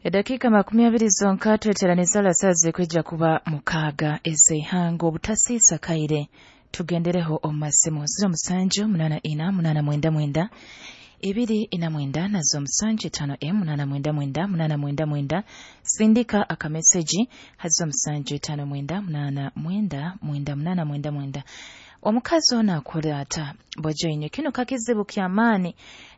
Eddakiika 20 zonka tweteraniza lasazi kwijja kuba 6 ez'eihanga obutasiisa kaire tugendereho omu masimu 07 84 899 249 nazo 75 M 899 899 sindika akameseji hazo 759 89 9899. Omukazi ono akora ata bojoinye kino kakizibu ky'amaani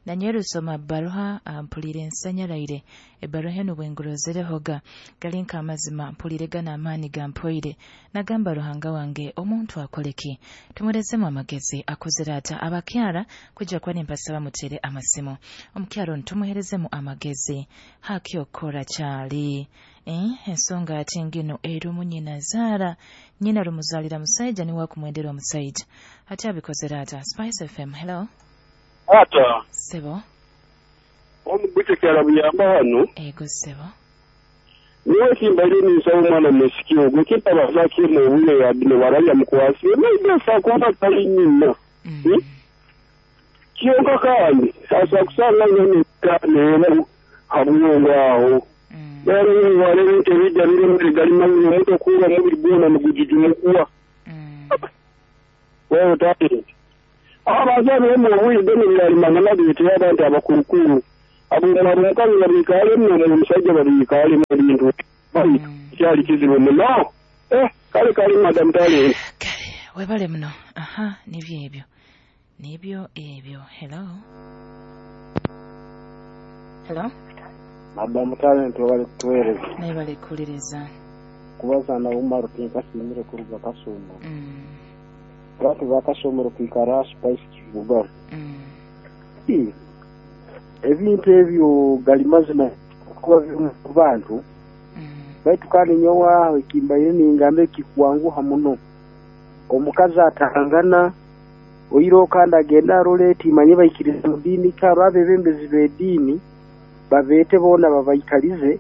nanyerusoma baruha mpulire ensanyaraire ebaruha eno bwengurozerehoga gali nk'amazima mpulire gana amaani gampoire nagamba Ruhanga wange omuntu akoleki tumwerezemu amagezi akozere ata abakyara kujja kuba nimpasaba mutere amasimu omukyara ono tumuherezemu amagezi haki okora kyali ensonga ati ngino erumu nyina zaara nyina rumuzalira musaija niwe akumwendera omusaija ati abikozere ata. Spice FM, hello. Ata sebo omuguche kyala buyamba hano ego sebo niwe kimbaire ninsaba omwana musiki ogwe kimpa bazakimu obule yabino baralya mukwasi maybe kuba tali nyina kyonka kandi asa kusanga nyene kanera habwongo aho rero warebe ebijja biri galima omuntu okuura omubiri gwona nigujujumukuwa wewe tati abazaire mu obwire bw'ebyalimanga nabyo abantu abakurukuru abo omukazi babikaalemu omusajja babikaalemu ebintu kyali kizibu muno. Kale kale madam tale kale webale muno. Aha, nibyo ebyo nibyo ebyo. Hello hello madam talent webale kutuweereza naye bale kuwuliriza kubaza na Umaru tinkasimire kuruga Kasumu. Abantu bakasomero kwikara Spice Kibuga. Ebintu ebyo gali mazima kuba biri mu bantu baitu kandi nyowe ekimbaire ningambe kikwanguha muno omukazi atangana oiro kandi agenda arole timanye baikiriza mu diini kaba abebembezi b'ediini babeete boona babaikalize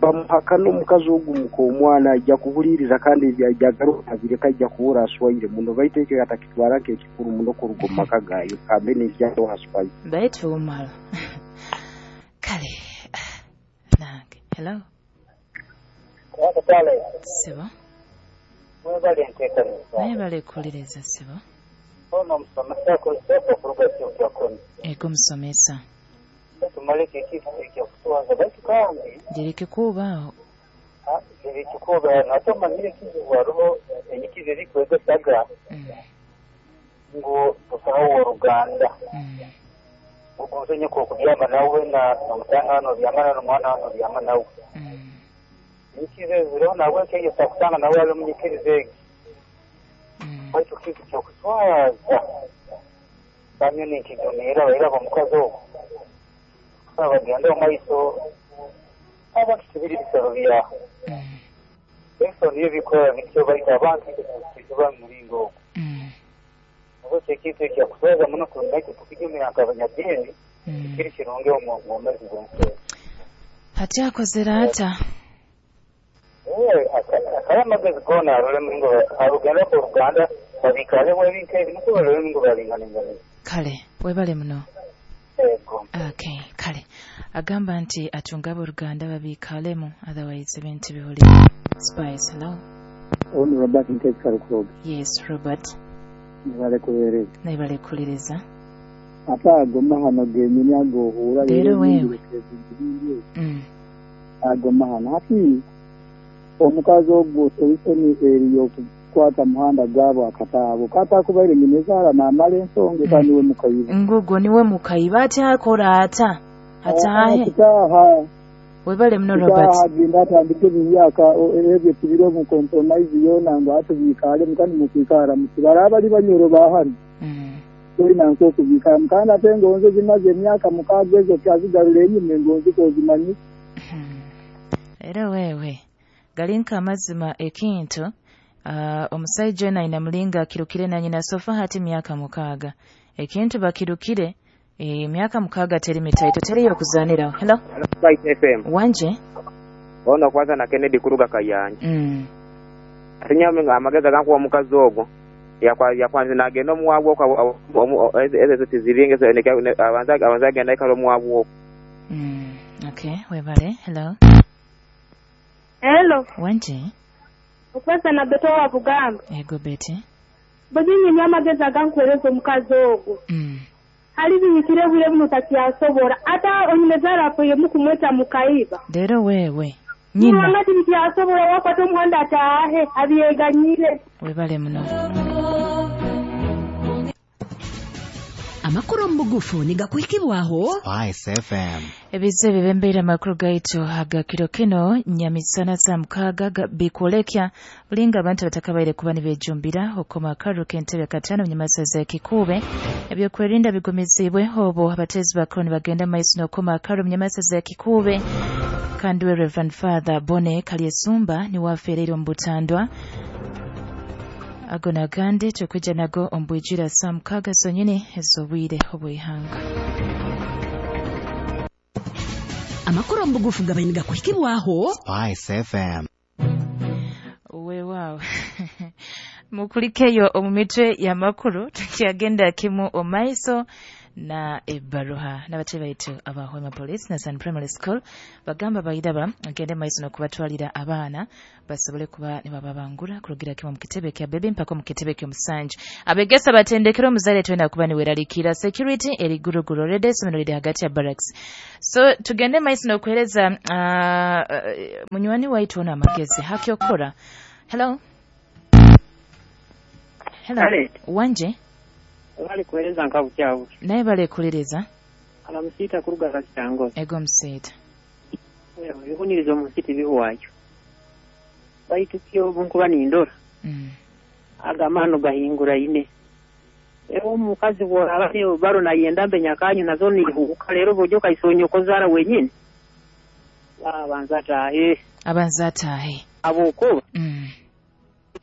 bamuhakana omukazi ogumuka omwana ajja kuhuliriza kandi ajja agaruka abireka ajja kuhura aswaire muno baitu ekyo atakitwara nk'ekikuru muno kuruga omu maka gaayo kambe n'ekyato aswaire baitu umalo kale nange. Hello sebo mwebale nteekaniza naye bale kuwuliriza sebo ono omusomesa kozesa okuruga kyokyakono ego musomesa tumaleke ekintu ekyakuswaza baitu kandi girikikuubaaho girikikuuba nate omanyire ekizibu hariho enyikizo erikwegesaga ngu busaho oworuganda ogonze nyoko okubyama nawe nomutanga hano obyama nomwana hano obyama nawe enyikizo ezireho nawe ekyegesa kusanga nawe ali omunyikirizo egi baitu kintu kyokuswaza bamyo ninkijumiira bairaba omukazi ogwo bagenda omu maiso abantu tibiri bisoro byaho ebisoro nibyo bikora bityo baitu abantu tuba mu muringo ogwo nabwo ekintu ekyakuswaza muno naitwe tukijumira nk'abanyadiini kiri kirungi omu bwomeezi bw'ensi. Hati akozere ata akaba amagezi goona arole muringo arugenda oruganda babikalemu ebintu ebi nukwo barole muringo baringanenganiza. Kale webale muno. Okay, kale agamba nti atunga abooluganda babikalemu otherwise ebintu bihuli. Spice, hello. Ono Robert Ntekisa Lukuroga. Yes Robert nibale kuweereza nibale kuwuliriza ate ago mahano genyini agohuura leero wewe ago mahano hati omukazi ogwo solution eri okukwata muhanda gwabo akataabo katakubaire nyina ezaala n'amala ensonga eka niwe mukayiba ngugwo niwe mukayiba ate akora ata ataahe kitaaha webale muno Robert agenda atandike ebimyaka ebyo tubire omu compromise yoona ngu atubiikaalemu kandi mukwikaara mukibara abali banyoro bahano tolina nk'okubiikalamu kandi ate engonzi zimaze emyaka 6 ezo tyazigarula enyuma engonzi kozimanyi. Era wewe gali nk'amazima ekintu omusajja ono ayina mulinga akirukire na nyina sofa hati myaka 6 ekintu bakirukire emyaka 6 teri mitaito teriyo okuzaaniraho. Hello Spice FM wanje ono kwanza na Kennedy kuruga Kayanja atinyame amagezi gankuwa omukazi ogwo yakwanza nagenda omuwabwo ezo tiziringa abanza agenda ikala omuwabwo. Okay, webale. Hello. Hello. Wanje. Okwesa na Beto wa Bugamba. Ego Beti. Bujinyi nyamagezi agankuhereza omukazi ogwo. Hali binyikire bwire buno takyasobora. Ata onyumezara apoye mukumweta mukaiba. Rero wewe. Nyina. Nyina tikyasobora wakwata omuhanda ataahe abyeganyire. Webale muno. Amakuru mbugufu nigakuhikibwaho Spice FM. Ebize bibembeire amakuru gaitu agakiro kino nyamisana za mukaga bikwolekya bulinga abantu batakabaire kuba nibejumbira okoma akaru k'entebe katano munyamasaza ekikube ebyokwerinda bigumizibwe obo abatezi bakuru nibagenda maiso n'okoma akaru munyamasaza ekikube kandi we Reverend Father Bone Kalyesumba niwafeereire omu butandwa ago nagandi tukwija nago ombwijira saa mukaga zonyini ez'obwire obw'ihanga. Amakuru mbugufu gabaye nigakuhikibwaho Spice FM. Weewaawo mukulikeyo omu mitwe y'amakuru tukyagenda kimu omaiso na ebbaruha n'abatebe baitu aba Hoima Police na San Primary School bagamba bayiraba agende maiso n'okubatwalira abaana basobole kuba nibababangura kurugira kimu mu kitebe kya bebe mpaka mu kitebe ky'omusanju. Abegesa batendekera omuzaire twenda kuba niweraliikira security eri guruguru already essomero liri hagati ya barracks. So tugende maiso n'okuhereza munywani waitu ono amagezi hakyokora. Hello. Hello. Kale. Wanje. Bali kuhereza nkabukyabu. Naye balekuliriza. Alamusita kuruga kakitango. Ego musita. Ebihunirizo mu nsiti bihwayo. Baitu kyo bunkuba nindora. Agamano gahingura ine. Ero omukazi bw'oraba baro nayenda mbenyakanyu nazo nihuka rero buryo kaisonyo zara wenyine. Abanza atahe. Abanza atahe. Abukuba.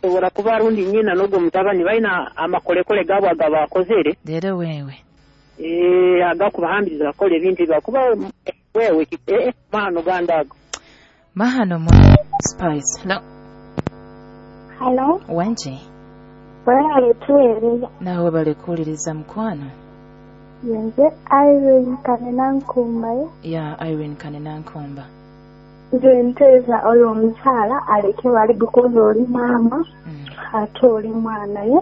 Sobora kuba rundi nyina n'ogwo mutabani balina amakolekole gaabwe agabakozere. Rero wewe. Agakubahambiriza bakora ebintu bakuba wewe mahano gandago. Mahano mu Spice. Hello. Hello. Wanje. Webale tuweereza. Nawe balekuuliriza mukwano. Nze Irene Kanenankumba. Ya Irene Kanenankumba. Nze nteeza oyo omukyala aleke bali gukoza oli maama ate oli mwana ye.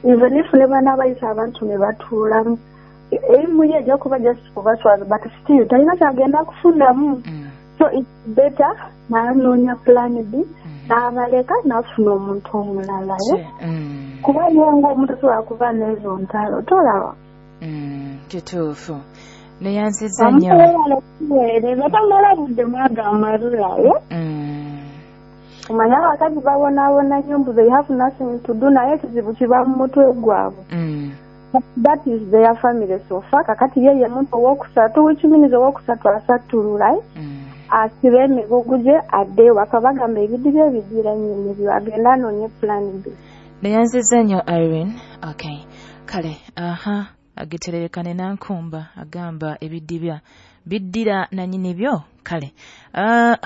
Nze nifune bana abayita abantu ne batuulamu. Erimu ye ejja kuba just kubaswaza but still talina kyagenda kufunamu. So it's better n'anoonya plan B n'abaleka n'afuna omuntu omulala ye. Kuba ye ng'omuntu tasobola kuba n'ezo ntalo tolaba. Kituufu. Neyanziza nnyo. Batamala budde mwaga amalulayo. Omanye abakazi babonaabona nnyo mbu they have nothing to do naye ekizibu kiba mu mutwe gwabwe. That is their family so far. Kakati ye ye muntu owokusatu, which means owokusatu asattulula. Asibe emigugu gye adde ewaka bagamba ebidiba ebigira nnyini byo agenda anoonye plan B. Neyanziza nnyo Irene. Okay. Kale, aha. Agitererekane nankumba agamba ebidibya biddira na nyini byo. Kale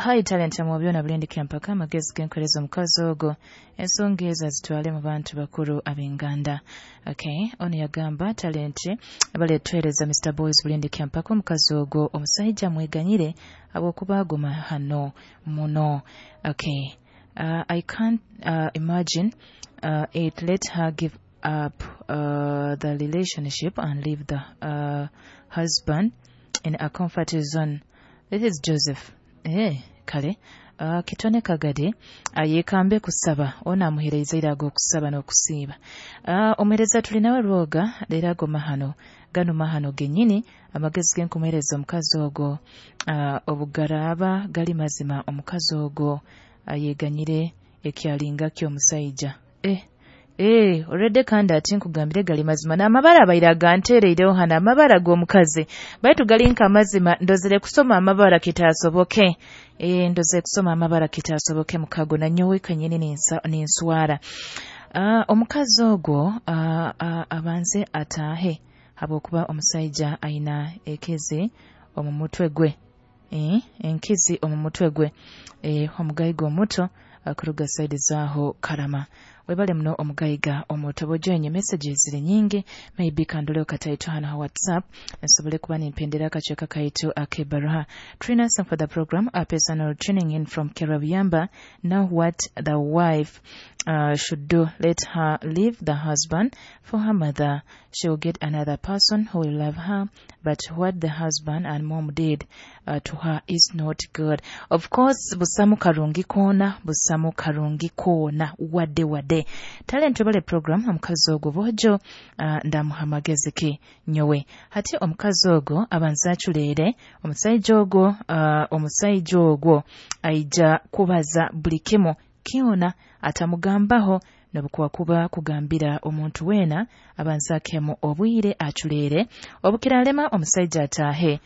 hi talent mu byona bulindikira mpaka amagezi genkoleza omukazi ogwo ensonga ezo azitwale mu bantu bakuru ab'enganda. Okay, ono yagamba talent baleetwereza Mr Boys bulindikira mpaka omukazi ogwo omusajja mweganyire abwokuba agoma hano muno. Okay, I can't imagine it. Let her give up the relationship and leave the husband in a comfort zone. This is Joseph. Kale. Kitone Kagade ayekambe kusaba ona amuhereza irago kusaba n'okusiiba. Omuhereza tulinawe rwoga leero ago mahano gano mahano gennyini amagezi genkumuhereza omukazi ogwo obugaraaba gali mazima omukazi ogwo ayeganyire ekyalinga ky'omusajja. Already kandi ati nkugambire gali mazima n'amabara abaire aganteereireho hano amabara g'omukazi baitu gali nk'amazima ndozere kusoma amabara kitaasoboke. Ndoze kusoma amabara kitaasoboke mukago na nyowe kanyini ninswara. Omukazi ogwo abanze ataahe habwokuba omusajja ayina ekezi omu mutwe gwe. Enkizi omu mutwe gwe. Omugayiga omuto akuruga saidi zaaho Karama. Webale muno omugayiga omutobo jenye messages ziri nyingi, maybe kandoleo kataito hano ha WhatsApp nsobole kuba nimpendera akacweka kaitu akebaruha. Trina some for the program, a personal tuning in from Kerabiyamba. Now what the wife should do, let her leave the husband for her mother. She will get another person who will love her, but what the husband and mom did to her is not good. Of course, busamu karungi kona, busamu karungi kona, wade wade. Talent wabale program, omukazi ogwo bojo ndamuhamagezeki nyowe. Hati omukazi ogwo abanza aculeere, omusajja ogwo aija kubaza buli kimu kiona atamugambaho nobukuwa kuba kugambira omuntu wena abanza akemu obwire aculeere. Obukiralema omusajja ataahe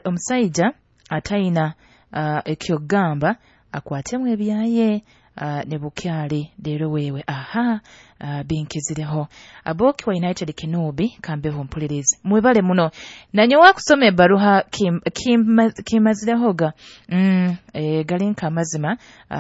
omusajja atayina ekyogamba akwatemu ebyaye ne bukyali leero wewe aha binkizireho. Aboki wa United Kinubi kambeho mpulirizi mwebale muno nanyowa kusoma ebbaruha kimazirehoga galinka amazima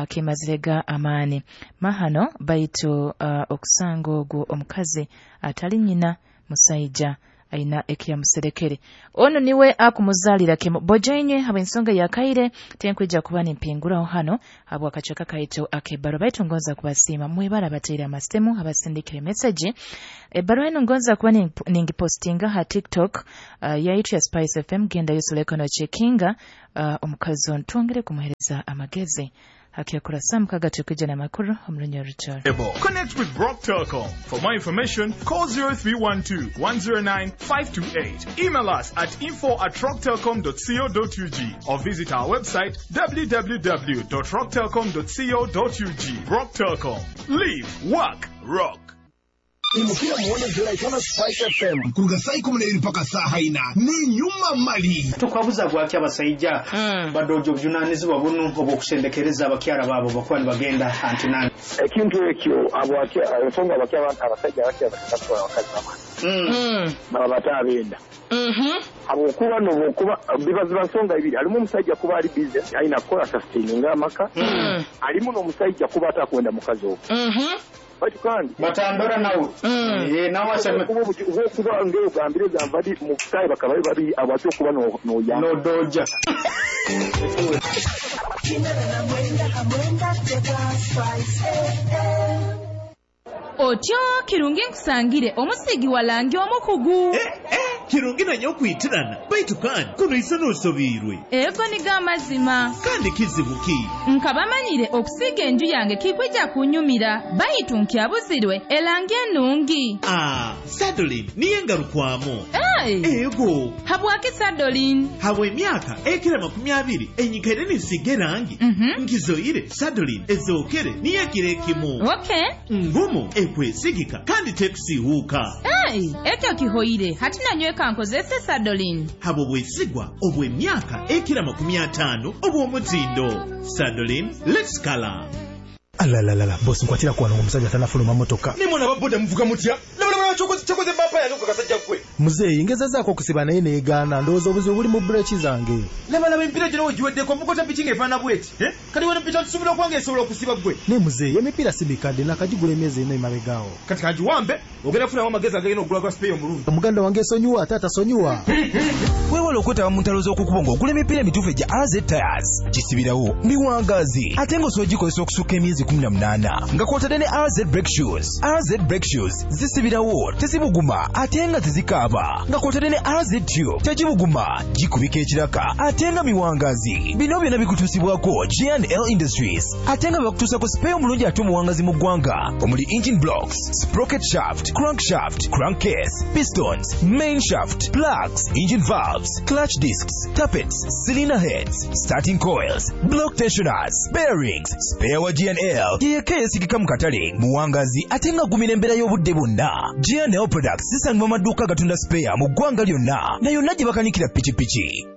kimazirega amaani mahano baitu okusanga ogwo omukazi atali nyina musajja aina ekiyamuserekere ono niwe akumuzalira kemo bojenye haba ensonga ya kaire tenkwija kuba nimpinguraho hano habwa akacweka kaitu akebaro. Baitu ngonza kubasiima mwebara bateire amasitemu abasindikire message ebaro eno ngonza kuba ningipostinga ha TikTok yaitu ya Spice FM. Genda yusuleko no checkinga omukazi ono twongere kumuhereza amagezi hakiyakura samukaga tukija na makuru omulunyo ruchoro. Connect with Brock Telecom. For more information, call 0312 109 528. Email us at info@rocktelcom.co.ug or visit our website www.rocktelcom.co.ug. Brock Telecom. Live, work, rock. Imukira muone Julaitano Spice FM kuruga saa 12 mpaka saa 4 ni nyuma mali tukwabuza bwaki abasajja badojo obujunanizibwa buno obwokusendekereza abakyala baabo bakuba nibagenda antinani ekintu ekyo ensonga abasajja abakyala abakazi baba batabenda habwokuba nobwokuba bibaziba nsonga ibiri alimu omusajja kuba ali busy alina kukola sustaininga amaka alimu n'omusajja kuba atakwenda mukazi ogwo batu kandi batandora nawe nawe aseme kuba ngeo gambire gambadi muktaye bakabaye babi abacho kuba no no ya no doja Otyo kirungi nkusangire omusigi walangi omukugu. Kirungi nanyo okwitirana baitu kandi kuno isano osobirwe. Ego niga amazima. Kandi kizibu ki? Nkabamanyire okusiga enju yange kikwija kunyumira baitu nkyabuzirwe elangi enungi. Sadolin niye ngarukwamo. Hey. Ego. Habwaki Sadolin? Habwe emyaka ekira 20 enyikaire nisiga erangi. Nkizoire Sadolin ezokere niye kirekimu. Okay. Ngumu ekwesigika kandi tekusiiwuuka. Hey, ekyo kihoire hati nanyweka nkozese Sadolin. Habo bwesigwa obw'emyaka ekira 50 obw'omutindo. Sadolin, let's color. Alalalala, boss nkwatira kuwano omusajja tanafuluma motoka. Nimwe n'ababoda muvuga mutya? Laba kyokoze bampa yange kasajja gwe. Muzeeyi ngezezaako okusiba naye neegaana ndowooza obuzibu buli mu bureeki zange. Laba emipiira gino wegiweddeko ovuga otya piki ng'efaanana bw'eti? Kati wano piki tusuubira okuba ng'esobola okusiba ggwe. Ne muzeeyi emipiira si mikadde nakagigula emyezi ena emabegaawo. Kati kangiwambe ogenda kufunamu amagezi agagenda okugula gwa sipeeyi omulungi. Muganda wange esonyiwa ate atasonyiwa. Weewale okwetaba mu ntalo z'okukubo ng'ogula emipiira emituufu egya AZ Tires. Gisibirawo miwangaazi ate ng'osobola ogikozesa okusukka emyezi 18 nga kw'otadde ne AZ Brake Shoes. AZ Brake Shoes zisibirawo tezibuguma ate nga tezikaaba nga kw'otadde ne AZ Tube tegibuguma gikubika ekiraka ate nga miwangaazi. Bino byonna bikutuusibwako J&L Industries ate nga bakutuusako sipeeyi omulungi ate omuwangazi mu ggwanga omuli engine blocks, sprocket shaft, crankshaft, crankcase, pistons, main shaft, plugs, engine valves, clutch discs, tappets, cylinder heads, starting coils, block tensioners, bearings. Spare wa G&L yeyeka eyesigika mu katale muwangazi ate nga agumira embeera y'obudde bwonna. G&L products zisangibwa mu maduuka agatunda spare mu ggwanga lyonna na yonna gye bakanikira pikipiki.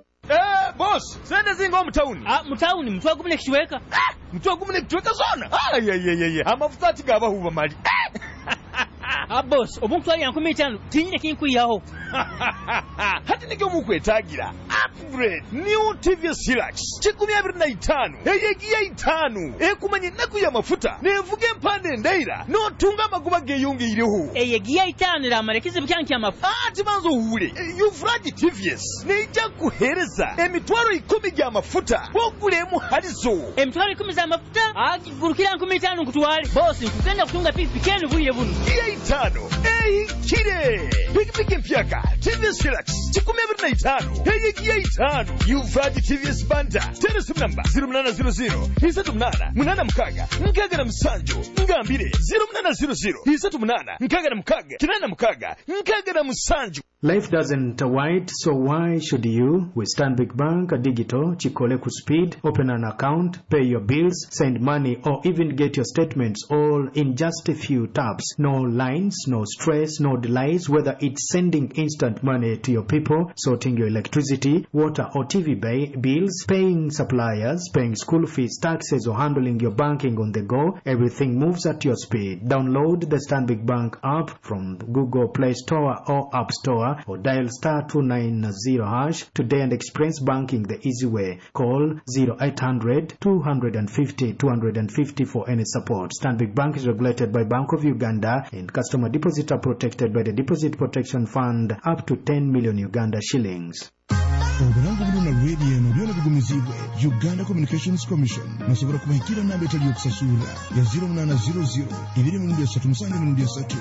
Boss, sente zinga omutawuni. Mutawuni mutwe gumu nekichweka. Mutwe gumu nekichweka zona. Ayayayaya. Amafuta ati gabahuba mali. Boss, obu nkutwalira 5000 tinyine kinkwihaho. Hati nikyo mukwetagira upgrade new TVS Hilux 25 eyegiya 5 ekumanya ennaku y'amafuta nevuga empanda endaira n'otunga amagoba geeyongeireho. Eyegiya 5 eramara ekizibu kyange ky'amafuta. Ati banza owuule Yuvraj TVS neija kukuheereza emitwaro 10 gy'amafuta ogulemu halizo. Emitwaro 10 z'amafuta agigurukira 5000 nkutwale. Boss, nkugenda kutunga pikipiki enu bwire buno. Giya 5 ehikire pikipiki empyaka TVS Hilux 25 eyegiya 5 Yuvraj TVS Banda tera simu namba 0800 38 86 67 ngambire 0800 38 66 87. Life doesn't wait, so why should you? With Stanbic Bank Digital, Chikole Speed, open an account, pay your bills, send money, or even get your statements all in just a few taps. No lines, no stress, no delays, whether it's sending instant money to your people, sorting your electricity, water or TV bills, paying suppliers, paying school fees, taxes, or handling your banking on the go, everything moves at your speed. Download the Stanbic Bank app from Google Play Store or App Store, or dial star 290 hash today and experience banking the easy way. Call 0800 250 250 for any support. Stanbic Bank is regulated by Bank of Uganda and customer deposits are protected by the Deposit Protection Fund up to 10 million Uganda shillings. Obulango buno na radio eno byona bigumizibwe Uganda Communications Commission. Musobola kubahikira namba etali yokusasula ya 0800 2 3 7 3.